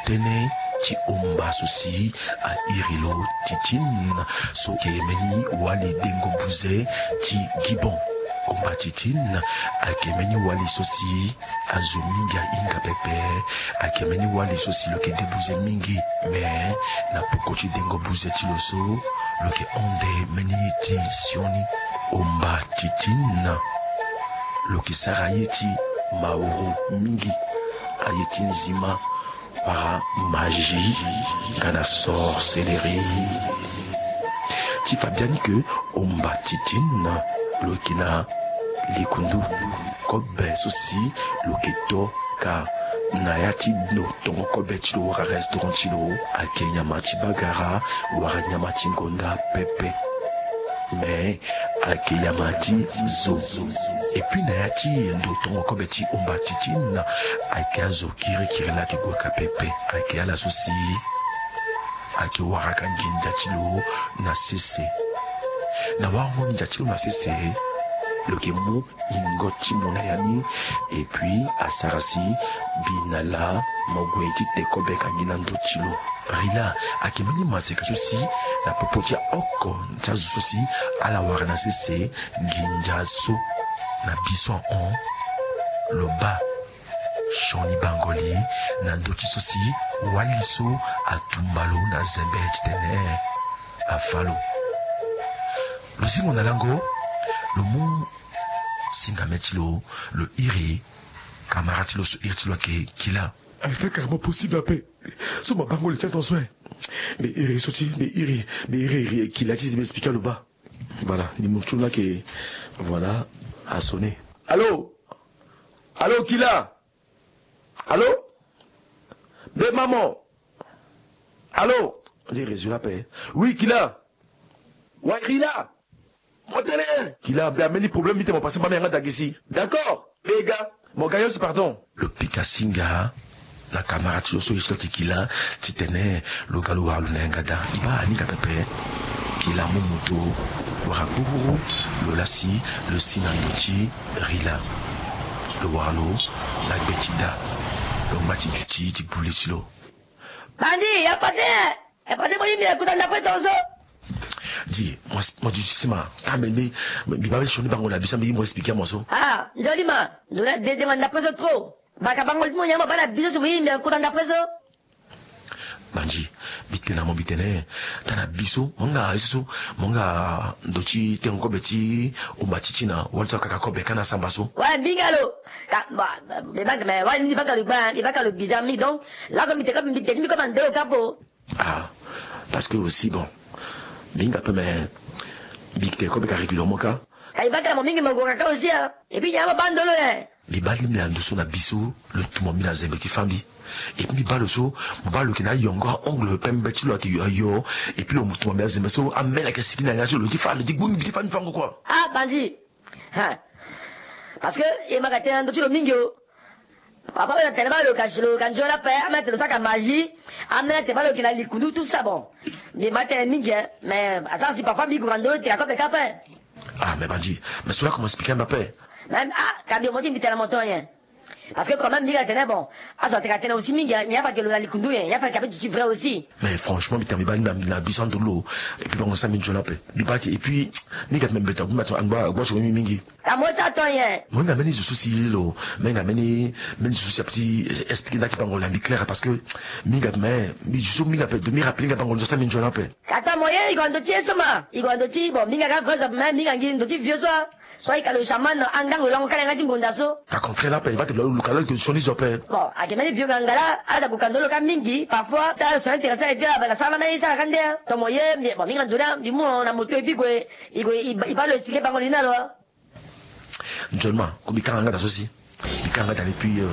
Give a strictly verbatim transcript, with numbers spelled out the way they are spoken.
Tënë ti omba so si a iri lo Titine, so ayeke mbeni wali dengo buze ti Gibon. Omba Titine ayeke mbeni wali so si azo mingi ahinga pepe. Ayeke mbeni wali so si lo yeke de buze mingi. Me na peko ti dengo buze ti lo so, lo yeke hon nde mbeni ye ti sioni. Omba Titine, lo yeke sara ye ti mauru mingi, aye ti nzima, wala magie, nga na sorcellerie. Ti fa biani ke omba Titine lo yeke na likundu kobe so si lo yeke to ka na ya ti ndo tongo kobe ti lo wala restaurant ti lo, ayeke nyama ti bagara wala nyama ti ngonda pepe. Me ayeke nyama ti zo. Et puis na ya ti ndo tongo kobe ti omba Titine, ayeke azo kirikiri la ayeke gue ka pepe. Ayeke ala so si ayeke waraka nginza ti lo na sese. Na warango nginza ti lo na sese, lo yeke mu ingo ti mo na ya ni. Et puis asara si mbi na laa mo gue ti te kobe ka ngi na ndö ti lo. Rila ayeke mbeni maseka so si na popo ti aoko ti azo so si ala wara na sese nginza so. Na biso ahon, lo baa sioni bango li na ndö ti so si wali so atumba lo na zembe titene afa lo. Lo zingo na lango, lo mu singame ti lo, lo iri kamara ti lo so iri ti lo ayeke Kila. Est-ce carrément possible ape? So mo bango li ti atention, eh. Mbi iri so ti, mbi iri, mbi iri, iri Kila ti mbi expliquer lo baa. Voilà, ni mo ti lo ni ayeke, voilà, a sonner. Allô? Allô, Kila? Allô? Be maman. Allô? On dirait réseau là, paix. Oui, Kila. Ouais, Rila. Mo tene. Kila, mbi ambeni problème, mbi tene mo passer mbama yanga dagesi. D'accord. Mbi ga. Mo ga yo si, pardon. Lo pika singa na kamara ti lo so ye ti lo ti Kila, titene lo ga lo wara lo na yanga daa. Mbi baa aninga pepe. Kila mu moto wara gbururu, lo lasi, lo si na ndo ti Rila. Lo wara lo na gbe ti daa. Lo ngba ti duti ti gbu li ti lo. Bandi, ya pase, ya pase, mo yimbi na kota ndapre tongaso. Di, mo, mo di sima, ta mbi, mbi, mbi baa sioni bango na biso, mbi, mo expliquer mo so. Ah, nzoni ma, nzoni adedengo na ndapre so trop. Baka bango ti mo nyama baa na biso si mo yimbi na kota ndapre so. Bandi, mbi tene na mo, mbi tene, ta na biso, mo nga ye so, mo nga ndo ti tengo kobe ti omba ti ti na, wali so akaka kobe ka na samba so. Ouais, mbinga lo. Ka, ba, ba, mbi baka, mais, ouais, mbi baka lo gba, mbi baka lo bizarre mingi, donc, là, comme mbi tene, mbi tene, mbi comme ando lo ka po. Ah, parce que aussi, bon, mbi hinga pe, mais mbi yeke tene kobe ka régulièrement ka. Ka e baka mo mingi mo gue ka aussi, hein. Et puis, nyama baa ndo lo, hein. Mbi baa lingbi na ndo so na biso, lo tuma mbi na zembe ti fâ mbi. Et puis mbi baa lo so, mo baa lo yeke na ayongo, aongle pembe ti lo ayeke yo, yo. Et puis lo tuma mbi na zembe so, ameni ayeke siki na yanga ti lo, lo ti fâ, lo ti gbungi, lo ti fâ, mbi fango quoi. Ah, bandi. Hein. Parce que e ma ka tene na ndo ti lo mingi o. Papa oyo atene baa lo ka, lo ka nzoni ape, ameni atene lo sara ka magie, ameni atene baa lo yeke na likundu, tout ça, bon. Mbi ma tene mingi, hein, mais asara si parfois mbi gue na ndo lo tene akobe ka ape. Ah, mais bandi, mais cela comment expliquer mbi ape? Même, ah, ka mbi mo ti mbi tene na mo ton nyen. Parce que quand même mbi ka tene, bon, azo atene ka tene aussi mingi, hein, nyen afa ke lo na likundu nyen, nyen afa ke ape duti vrai aussi. Mais franchement, mbi tene mbi baa ni na, na biso ando lo, et puis bango sara mbi nzoni ape. Mbi baa ti, et puis, mbi ka mbi mbeto, mbi baa ti, angba, angba ti mingi. Ka mo sara ton nyen? Mo hinga mbeni zo so si lo, mo hinga mbeni, mbeni zo so si ape ti expliquer nda ti bango na mbi clair, parce que mbi hinga, mais mbi zo so mbi hinga ape, de mbi rappeler nga bango lo sara mbi nzoni ape. Ka ta mo ye, i gue na ndo ti ye so ma. I gue na ndo ti, bon, mbi hinga ka vrai zo, mais mbi hinga ngi ndo ti vieux so a. So ayeke lo chaman, angango lango kala yanga ti ngonda so. Ka contraire ape, i baa ti lo, lo ka lo yeke sioni zo ape. Bon, ayeke mbeni vieux ngangala, aza gue ka ndo lo ka mingi, parfois, ta son intéressant, et puis, ah, ben, na sara na mbeni sara ka nde, hein. Ton mo ye, mbi, bon, mbi hinga ndo ni, mbi mu na moto, et puis gue, i gue, i baa, i baa lo expliquer bango li na lo. Nzoni ma, ko mbi kanga nga daa so si. Mbi kanga nga daa ni, puis, euh,